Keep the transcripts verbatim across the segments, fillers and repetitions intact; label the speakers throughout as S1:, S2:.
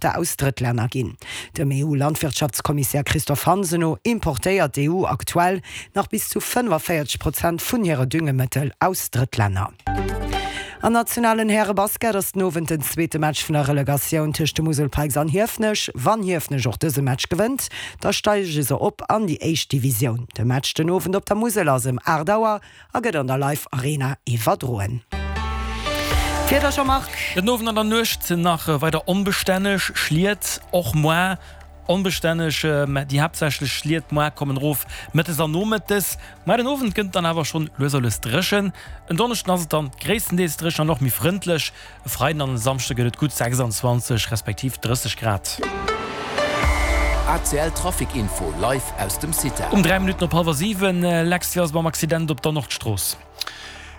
S1: Importer aus Drëttlänner ginn. Dem EU-Landwirtschaftskommissär Christophe Hansen no importéiert d'EU aktuell nach bis zu fënnefenvéierzeg Prozent vun hire Düngemëttel aus Drëttlänner. Am nationalen Härebasket ass den Owend den zweete Match vun der Relegatioun tëscht de Musel Pikes an Hiefenech. Wann Hiefenech och dëse Match gewënnt, da steige se op an déi éischt Divisioun. De Match den Owend op der Musel ass ëm aacht Auer a gëtt an der Live Arena iwwerdroen. D'Wieder, Jean-Marc.
S2: Den Owend an der Nuecht nach weider onbestänneg, Schliet och moar onbestänneg, mä déi haaptsächlech Schliet moar kommen erof mëttes an nomëttes. Mä den Owend gëtt et dann awer schonn lues a lues dréchen. En Donneschden ass et dann gréisstendeels dréchen an och méi frëndlech. E Freiden an e Samschde gëtt et gutt sechsundzwanzeg respektiv drësseg Grad.
S3: A C L Trafic Info live aus dem CITA.
S2: Um dräi Minutten op hallwer siwen, Lex, wéi ass et mam Accident op der Nordstrooss?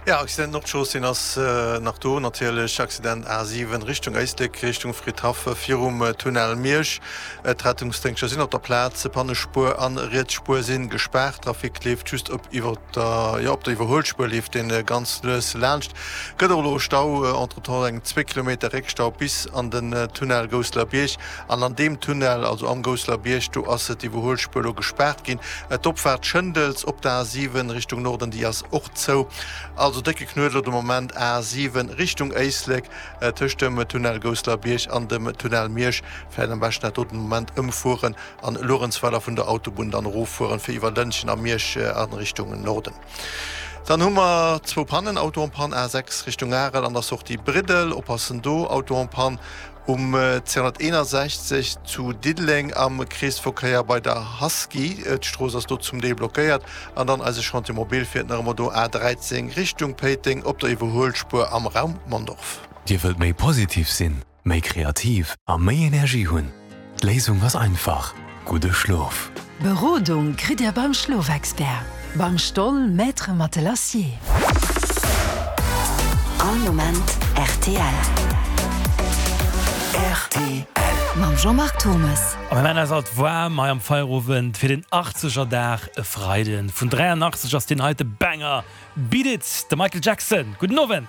S4: Jo, Accident Nordstrooss, deen ass nach do natierlech. Accident A siwen Richtung Éislek, Richtung Fridhaff virum Tunnel Miersch. D'Rettungsdéngschter sinn op der Plaz. Pannespuer an riets Spuer sinn gespaart. Trafic leeft just op iwwer der, jo, op der Iwwerhuelspuer leeft deen ganz lues laanscht. Gëtt och elo e Stau, entretemps eng zwee Kilometer Réckstau bis an den Tunnel Gousselerbierg. An an deem Tunnel, also am Gousselerbierg, do ass d'Iwwerhuelspuer elo gespaart ginn. D'Opfaart Schëndels op der A siwen Richtung Norden, déi ass och zou. Also décke Knuedler de Moment A siwen Richtung Éislek tëscht dem Tunnel Gousselerbierg an dem Tunnel Miersch. Vläicht am beschten dat do den Moment ëmfueren an Luerenzweiler vun der Autobunn dann eroffueren fir iwwer Lëntgen a Miersch a Richtung Norden. Dann hu mer zwou Pannen, Auto en panne A sechs Richtung Arel an der Sortie Briddel, oppassen do, Auto en panne um zweehonnerteenasechzeg zu Diddeleng am Kreesverkéier bei der Husky, d'Strooss ass do zum Deel blockéiert. An dann eise Chantier mobile fiert nach ëmmer do A dräizéng Richtung Péiteng op der Iwwerhuelspuer am Raum Mondorf.
S5: Dir wëllt méi positiv sinn, méi kreativ a méi Energie hunn? D'Léisung ass einfach, gudde Schlof!
S6: Berodung kritt Dir beim Schlofexpert, beim Stoll Maître Matelassier.
S7: All Moment rtl.
S3: Rtl.
S7: Mam Jean-Marc Thommes.
S2: A mir maachen eis alt waarm hei am Feierowend fir den achtzeger Dag e Freiden. Vun dräianachtzeg ass deen heite Banger Beat It, de Michael Jackson. Gudden Owend.